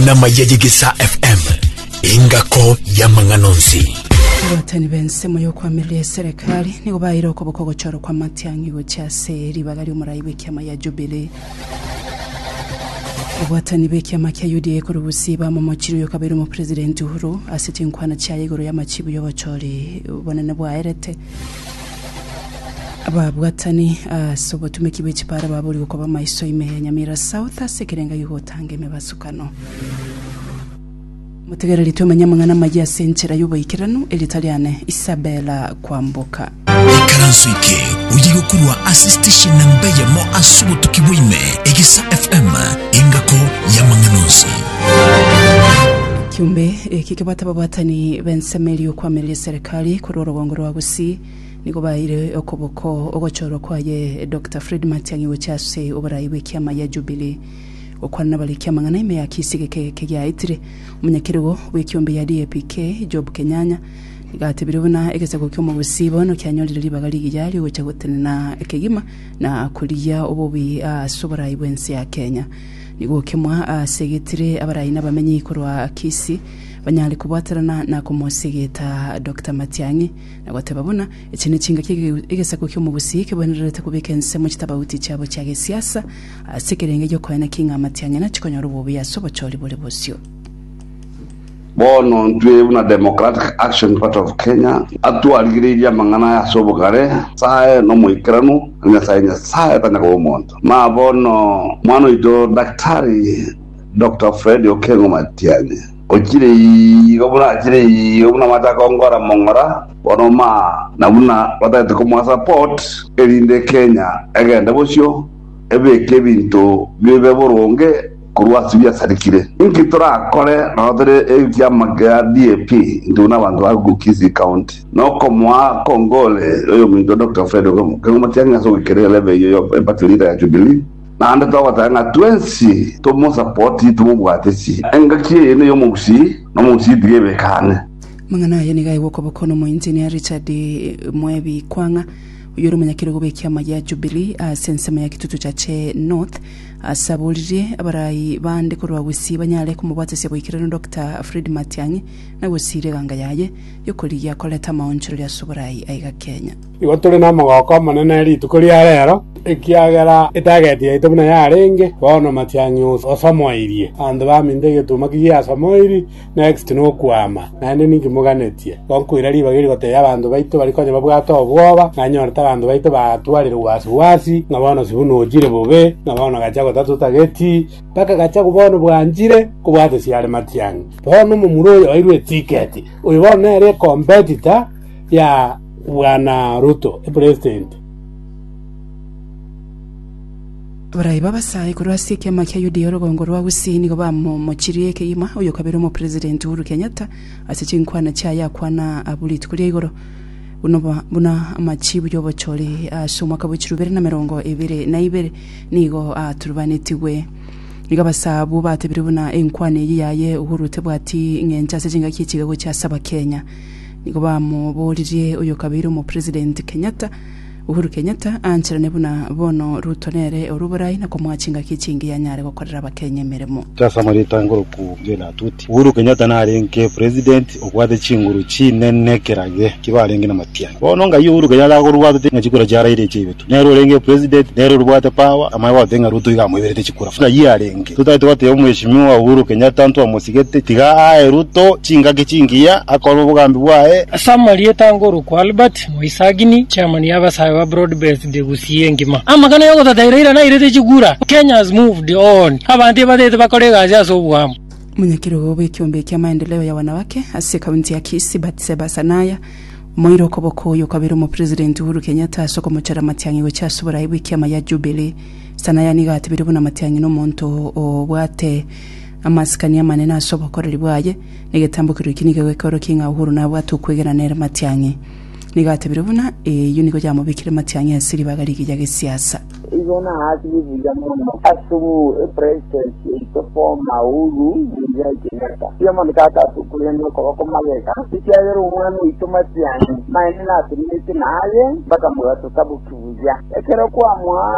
Amang'ana amaya y'Egesaa FM, engako y'amang'ana onsi. Abatani b'ensemo y'okoamereria eserekari nigo baeire okoboko ogochorwa kwa Matiang'i gochia ase ribaga ri'omorai bw'ekiama ya Jubilee. Abwatani b'ekiama kia UDA korwa Gusii bamomochirie oyo okabeire omopresident Uhuru ase chinkwana chiaye igoro y'amachibu y'obochori bonene bwaerete. Ababwatani ase obotumeki bwe chipara baborigwe koba maiso ime ya Nyamira South ase ekerenga gi'ogotanga emebasukano. Motegereri twemanye amang'ana amayia ase enchera y'oboikeranu, erieta riane Isabella Kwamboka. Ikaranso eke oye gokorwa ase station namba eyemo ase obotuki bwa ime, Egesa FM, engako y'amang'ana onsi. Ekiombe eke kebwate ababwatani b'ensemo eria y'okoamereria eserekari korwa orogongo rwa Gusii nigo baeire okoboko ogochorwa kwaye Doctor Fred Matiang'i gochia ase oborai bw'ekiama gia Jubilee. Gokwana nabariki amang'ana ime ya Kisii geke eke giaetire, omonyakerogo bw'ekiombe ya DAPK Job Kenyanya nigo atebire buna egesaku ki'omogusii bono kianyorire ribaga rigiya riogocha gotenena kegima na korigia obobi ase oborai bw'ense ya Kenya. Nigo okemwa asegetire abarai na abamenyi korwa Kisii banyare kobwaterana na komosegeta Doctor Matiang'i na goteba buna echi nechingaki egesaku ki'omogusii kebwenererete kobeka ensemo chitabauti chiabo chia gesiasa Ase ekerengo gi'okoena ki ng'a amatiang'i nachi konyora obobe ase obochori bore bosio. Bono ntwe buna Democratic Action Party of Kenya atwarigereirie amang'ana aya ase obogare, Nyasae nomoikeranu, na Nyasae Nyasae tanya koba omonto. Ma bono mwana oito Daktari Doctor Fred Okengo Matiang'i ochire igo buna achire igo buna amache akongora mong'ora, bono ma na buna batagete komoa support erinde Kenya egende bosio, ebeke ebinto bibe boronge korwa ase biasarekire. Inki torakore nabo tore ekiama kia DAP intwe buna abanto ba Kisii County nokomoa kongole oyominto Doctor Fred Okengo Matiang'i ase ogoikeria elevel eyio ya party leader ya Jubilee naende togoteba ng'a twensi tomosapoti tomobwate chi. Engaki eye neyomogusii na omogusii tiga ebeke ang'e. Amang'ana aya nigo aigwa okoboko nomoengineer Richard Mwebi Kwang'a Oyio ore omonyakerogo bw'ekiama gia Jubilee ase ensemo ya Kitutu Chache North ase aboririe abarai bande korwa Gusii banyare komobwatesia boikeranu Doctor Fred Matiang'i na gosiria eganga yaye yokorigia koreta amaonchoreria ase oborai aiga Kenya. Igo tore nomogoko omonene rituko ria rero, ekiagera etageti yaito buna yarenge, bono Matiang'i osomoirie. Abanto baminto egetuma kigiasomoiri, Next nokwama, naende ninki moganetie? Igo nkoira ribaga eri gotebia abanto baito baria konya babwate obwoba, nanyorete abanto baito batwarire wasi wasi, ng'a bono sibuna ochire bobe, ng'a bono Gachagua tatotageti, mpaka Gachagua bono bwanchire kobwatesia are Matiang'i. Bono omomura oyo oirwe etiketi, oyo bono nere ecompetitor ya bwana Ruto, epresident. Abarai b'abasae korwa ase ekiama kia UDA orogongo rwa Gusii nigo bamomochirie kegima oyokabere omopresident Uhuru Kenyatta ase chinkwana chiaye akwana abwo rituko ria igoro buna buna amachibu y'obochori ase omwaka bwe chirubere na 22 nigo aturubanetigwe. Nigo abasae abwo batebire buna enkwana eyio yaye Uhuru tebwati ng'encho ase chingaki echiga gochia ase abakenya. Nigo bamoboririe oyokabeire omopresident Kenyatta Uhuru Kenyatta aancherane buna bono Ruto nere ore oborai na komoa chingaki chingiya anyare gokorera abakenya emeremo. Ase amarieta ngoroku Jane Atuti. Uhuru Kenyatta narenge president obwate chinguru chinene kerage kibarenge na Matiang'i. Bono ngai Uhuru Kenyatta akorwa ng'a chikura chia Raila echiaibetwe. Nere orenge president, nere orobwate power, amanye goteba ng'a Ruto iga amoiberete chikura. Ng'ai arenge? Totagete goteba omweshimiwa Uhuru Kenyatta ntwamosigete, tiga ae Ruto chingaki chingiya akore obogambi bwaye. Ase amarieta ngorokwa Albert Moisagini, chairman y'abasae ba Broad Based Gusii engima. Amang'ana y'ogotata Raila nairete chikura, Kenya has moved on. Abanto ebatete bakore egasi ase oboamo. Omonyakerogo bw'ekiombe kia maendeleo ya wanawake ase ekaunti ya Kisii Batseba Sanaya omoire okoboko oyo okabera omopresident Uhuru Kenyatta ase okomochora Matiang'i gochia ase oborai bw'ekiama ya Jubilee. Sanaya nigo atebire buna Matiang'i nomonto obwate amasikani amanene ase obokoreri bwaye na egetambokero eki nigo gekoorokia ng'a Uhuru nabwate okwegena nere Matiang'i. Nigo atebire buna eyio nigo yamobekire Matiang'i ase ribaga rigiya gesiasa. Igo naakire buya mono ase epresident yaito former Uhuru Muigai Kenyatta. Mbuya mono tata ase okoirania okoboko magega, ekiagera omwana oito Matiang'i maene natenenete naye mpaka mogaso taboki buya. buya. Ekero kwamoa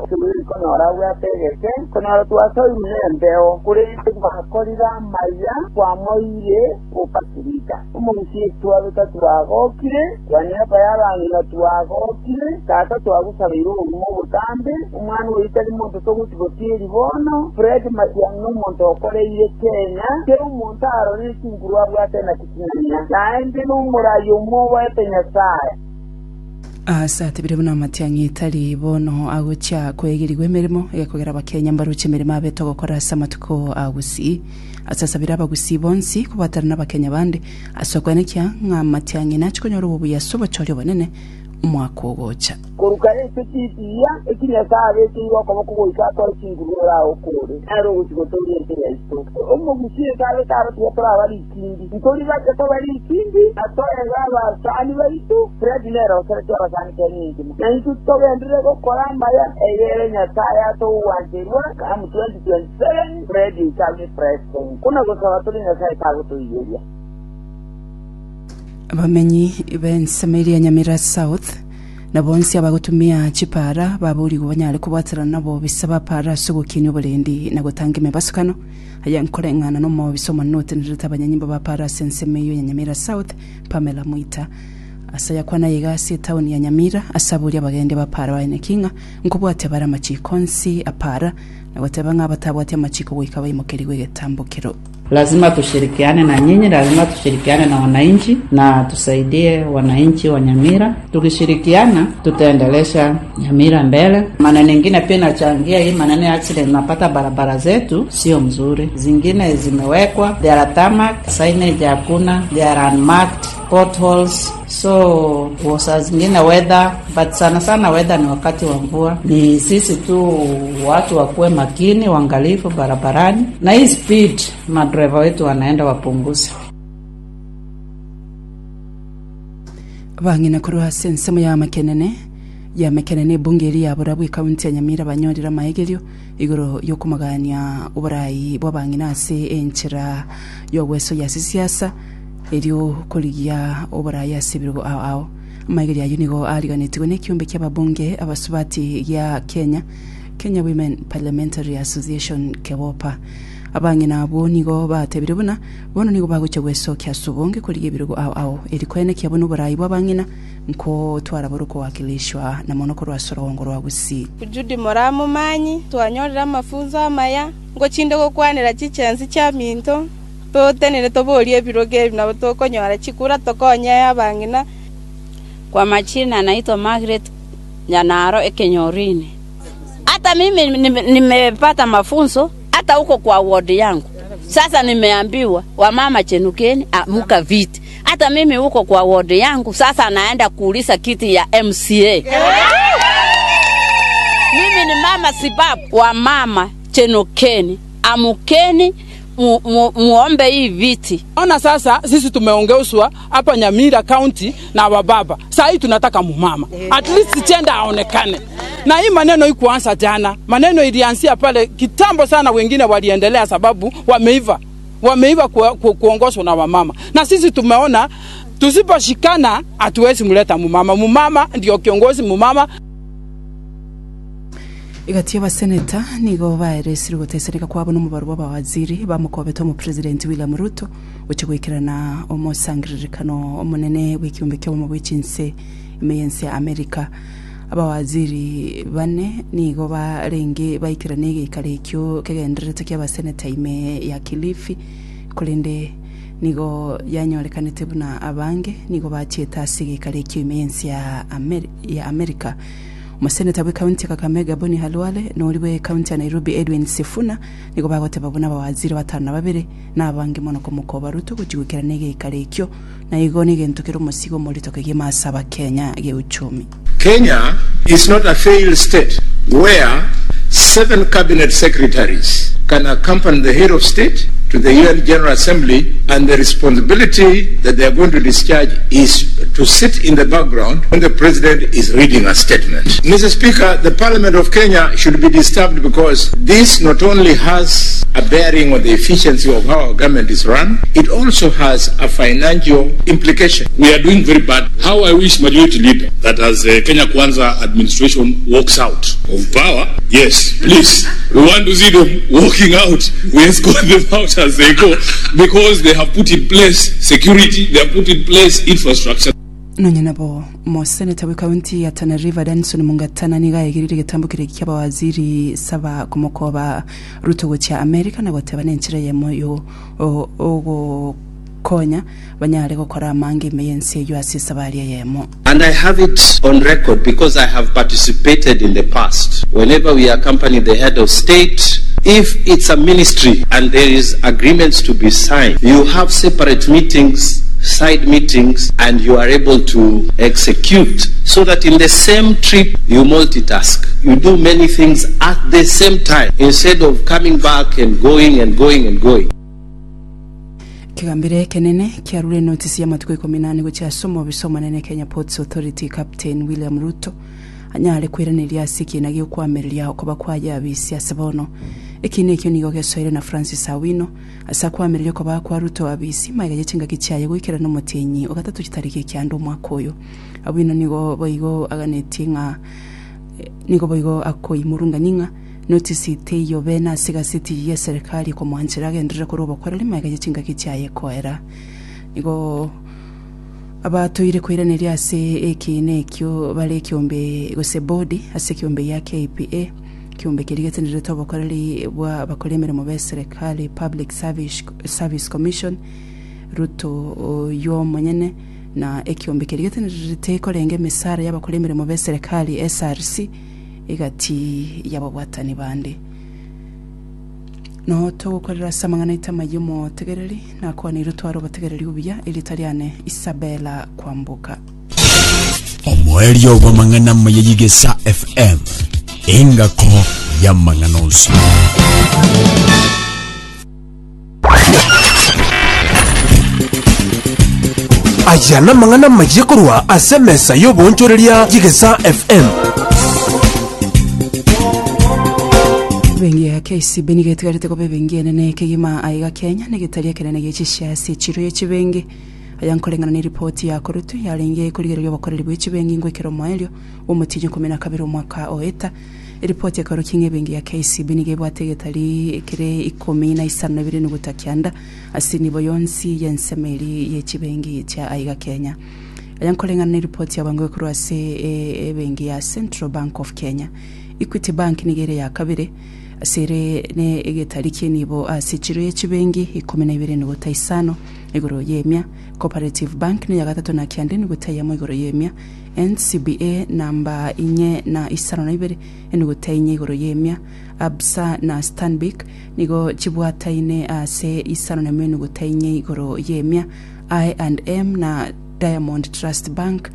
ekerogo konyora abwate egeke, konyora twasoirwe nembeo, korende gwakorire amaya, kwamoeire gopasirika. Omogusii twabeka twagokire, kwaniaba y'abang'ina twagokire, tata twagosabeire obogima obotambe, omwana oyio tari monto togochi gotieri bono, Fred Matiang'i nomonto okoreire Kenya, kera omonto arorire chinguru abwate naki ching'ana, naende nomorai omwoboete Nyasae. Ase atebire buna amatiang'i tari bono agochia koegerigwa emeremo egekogera abakenya mbaroche emeremo abete ogokora ase amatuko a gusii. Ase asabire abagusii bonsi kobwatana nabakenya bande ase okoenekia ng'a amatiang'i nache konyora obobuya ase obochori obonene omwaka ogocha. Korwa kare ase chitiya echi Nyasae abekeire okoboko goika atoe chinguru oragokore, nere ogochia gotooria ense yaito. Omogusii eke abete aro tiga toraba rikindi, ntori bache koba rikindi, na toebe abasani baito. Fred nere oseretie abasani Kenya engima, na intwe togenderere gokora amaya, egere Nyasae atogwancherwa come 2027 Fred oito abe president. Buna gosaba tore Nyasae tagotoiyeria. Abamenyi b'ensemo eria ya Nyamira South na bonsi abagotumia chipaara baborigwe banyare kobwaterana nabobisa ba paara ase ogokinia oborendi na gotanga emebasukano. Aya nkoreng'ana nomobisa omonene otenerete abanyanyimbo ba paara ase ensemo eyio ya Nyamira South, Pamela Mwita. Ase ayakwana iga ase etaoni ya Nyamira ase aboria abagendi ba paara baeneki ng'a nkobwatia bare amachiko onsi a paara na goteba ng'a abatabwati amachiko goika baimokerigwe egetambokero. Lazima tushirikiane na nyinyi, lazima tushirikiane na wananchi na tusaidie wananchi wa Nyamira. Tukishirikiana tutaendelesha Nyamira mbele. Maneno ingine pia inachangia hii maneno ya accident, napata barabara zetu sio mzuri, zingine zimewekwa there are tarmac, signage hakuna, there are unmarked potholes so saa zingine weather but sana sana weather ni wakati wa mvua. Ni sisi tu watu wakuwe makini, waangalifu barabarani, na hii speed madereva wetu wanaenda wapunguze. Abang'ina korwa ase ensemo ya Makenene ya Makenene ebunge eria ya Borabu ekaunti ya Nyamira banyorire amaegerio igoro yokomagania oborai bw'abang'ina ase enchera y'ogwesoyia ase siasa Erio korigia oboraai ase ebirogo ao ao. Amaigerio ayio nigo aariganetigwe nekiombe ki'ababunge abasubati gia Kenya, Kenya Women Parliamentary Association, KEWOPA. Abang'ina abwo nigo batebire buna bono nigo bagochia gwesokia ase obonge korigia ebirogo ao ao eri koenekia buna oboraai bw'abang'ina nkotwara bore okowakilishwa na mono korwa ase orogongo rwa Gusii. Judy moramomanyi, twanyorire amafunso amaya, ngochinde gokwanera chichensi chiaminto. Totenene toborie ebirogo ebi, nabo tokonyora chikura tokonye abang'ina. Kwa majina naitwa Margaret Nyanaro Ekenyorini. Hata mimi nimepata mafunzo hata huko kwa ward yangu. Sasa nimeambiwa wamama chenukeni, amuka viti. Hata mimi huko kwa ward yangu sasa naenda kuuliza kiti ya MCA. Mimi ni mama sibabu wa mama chenukeni, amukeni mu, mu, muombe hii viti. Ona sasa sisi tumeongeuzwa hapa Nyamira County na wababa. Saa hii tunataka mumama. At least chenda aonekane. Na hii maneno ikuanza jana. Maneno ilianzia pale kitambo sana, wengine waliendelea sababu wameiva. Wameiva ku, ku, kuongozwa na wamama. Na sisi tumeona tusiposhikana hatuwezi mleta mumama. Mumama ndio kiongozi mumama. Egati y'abaseneta nigo baeresire ogotesereka kwabo nomobaro bw'abawaziri bamokobete omopresidenti William Ruto gochia goikerana omosangererekano omonene bw'ekiombe ki'obomo bwe chinse ime y'ense ya America. Abawaziri bane nigo barenge baikerane egeikaro ekio kegendererete ki'abaseneta ime ya Kilifi korende nigo yanyorekanete buna abange nigo bachiete ase egeikaro ekio ime y'ense ya America. Omoseneta bw'ekaunti ya Kakamega Boni Khalwale na oria bw'ekaunti ya Nairobi Edwin Sifuna nigo bagoteba buna abawaziri batano na babere nabange mono komokoba Ruto gochia goikerana egeikaro ekio na igo negento kere omosigo omorito kegima ase abakenya geuchumi. Kenya is not a failed state where seven cabinet secretaries can accompany the head of state to the UN General Assembly and the responsibility that they are going to discharge is to sit in the background when the president is reading a statement. Mr. Speaker, the Parliament of Kenya should be disturbed because this not only has a bearing on the efficiency of how our government is run, it also has a financial implication. We are doing very bad. How I wish majority leader that as the Kenya Kwanza administration walks out of power, yes, please, we want to see them walking out. We escort them out as they go because they have put in place security, they have put in place infrastructure. Nonya nabo, Omoseneta bw'ekaunti ya Tana River Danson Mungatana nigo aegereire egetambo keria ki'abawaziri saba komokoba Ruto gochia Amerika na goteba nenchera eyemo yo ogokonya banyare gokora amange ime y'ense eyio ase esabari eyemo. And I have it on record because I have participated in the past. Whenever we accompany the head of state, if it's a ministry and there is agreements to be signed, you have separate meetings, side meetings, and you are able to execute so that in the same trip you multitask. You do many things at the same time instead of coming back and going and going and going. Ekegambero ekenene kiarure enotisi y'amatuko ikomi na ane gochia ase omobisa omonene Kenya Ports Authority Captain William Ruto anyare koiraneria ase ekiina gi'okoamereria okoba kwaye abisi ase bono. Ekiina ekio nigo gesoire na Francis Awino ase akoamereria okoba kwa Ruto abisi magega ye chingaki chiaye goikerana omotienyi o gatato chitariki ekianda omwaka oyo. Awino nigo boigo aganetie ng'a nigo boigo akoimurungania ng'a Notisi teiyo bene ase egaseti y'eserekari ekomoanchera agenderere korwa obokoreri magega ye chingaki chiaye koera. Nigo abatoire koiraneria ase ekiina ekio bare ekiombe gose bodi ase ekiombe gia KPA, ekiombe keria getenerete obokoreri bwa abakori emeremo b'eserekari, Public Service Commission, Ruto oyio omonyene na ekiombe keria getenerete korenga emisara y'abakori emeremo b'eserekari, SRC, egati y'ababwatani bande. Noo togokorera ase amang'ana aito amayia omotegereri, nakwaneire otware obotegereri obuya, erieta riane Isabella Kwamboka. Omoerio bw'amang'ana amaya y'Igesa FM, engako y'amang'ana onsi. Aya namang'ana amayia korwa ase emesa y'oboonchoreria y'Egesaa FM. Ebenki ya KCB nigo etigarete koba ebenki enene kegima aiga Kenya na egetari ekenene gie chishare ase echiro ye chibenki. Aya nkoreng'ana ne ripoti ya korutwe yarenge korigereria obokoreri bwe chibenki ngoikera omoerio bw'omotienyi ikomi na kabere omwaka oeta. Eripoti ekaorokia ng'a ebenki ya KCB nigo ebwate egetari kere ikomi na isano na ibere nuguta kianda ase enibo yonsi y'ensemo eria ye chibenki chia aiga Kenya. Aya nkoreng'ana ne eripoti ya bwango ekorwa ase ebenki ya Central Bank of Kenya. Equity Bank nigo ere ya kabere ase ere ne egetari ki'enibo ase echiro ye chibenki ikomi na ibere nuguta isano igoro y'emia. Cooperative Bank neya gatato na kianda enuguta eyemo igoro y'emia. NCBA namba inye na isano na ibere, enuguta inye igoro y'emia, Absa na Stanbic nigo chibwataine ase isano nemo enuguta inye igoro y'emia, I and M na Diamond Trust Bank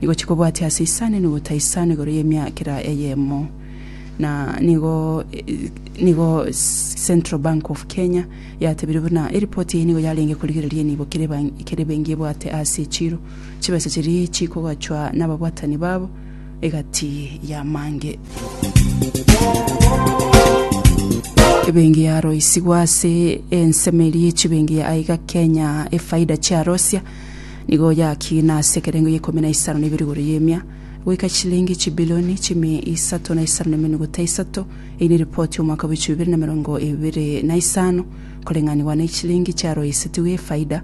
nigo chikobwatia ase isano enuguta isano igoro y'emia kera eyemo. Na nigo nigo Central Bank of Kenya yatebire buna eripoti eye nigo yarenge korigereria enibo kera ebenki ebwate ase echiro. Chibesa chiria chikogachwa nababwatani babo egati y'amange. Ebenki yaroisigwe ase ensemo eria ye chibenki ya aiga Kenya efaida chiarosia nigo yakina ase ekerengo ya ikomi na isano na ibere igoro y'emia goika chilingi chibilioni chimia isato na isano na emenuguta isato. Eyio neripoti y'omwaka bwe chibibere na emerongo ebere na isano koreng'anigwa ne chilingi chiaroisetigwe efaida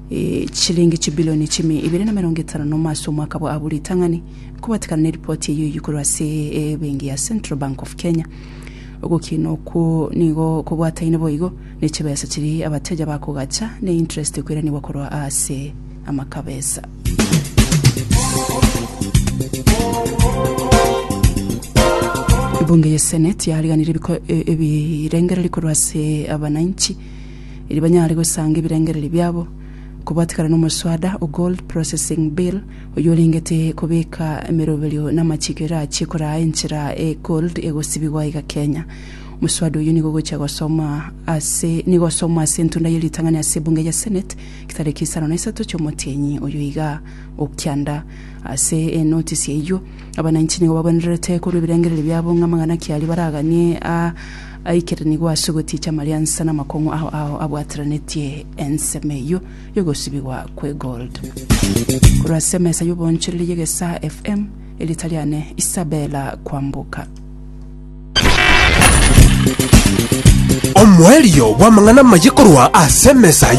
Chilingi chibilioni chimia ibere na emerongo etano nomo ase omwaka bwa abwo ritang'ani nkobatikana neripoti eyio eyio korwa ase ebenki ya Central Bank of Kenya. Ogokina okwo nigo kobwataine boigo ne chibesa chiria abateja bakogacha ne interest ekoiranigwa korwa ase amakabesa. Ebunge ye Senate yariganirie ebirengererio korwa ase abananchi Erio banyare gosanga ebirengererio biabo kobwatekana nomoswada o Gold Processing Bill, oyio orengete kobeka emeroberio na amachiko erachie koraa enchera e gold egosibigwa iga Kenya. Omoswada oyio nigo ogochia gosomwa ase nigo osomwa ase entunda ye ritang'ani ase ebunge ya Senate chitariki isano na isato chi'omotienyi oyo iga okianda. Ase enotisi eyio, abananchi nigo babwenerete korwa ebirengererio biabo ng'a amang'ana ki aria baraganie a aikeranigwe ase ogoticha amariansa na amakong'u ao ao abwateranetie ensemo eyio y'ogosibigwa kw'egold. Korwa ase emesa y'oboonchoreria y'Egesaa FM, erieta riane Isabella Kwamboka. Omoerio bw'amang'ana amaye korwa ase emesa.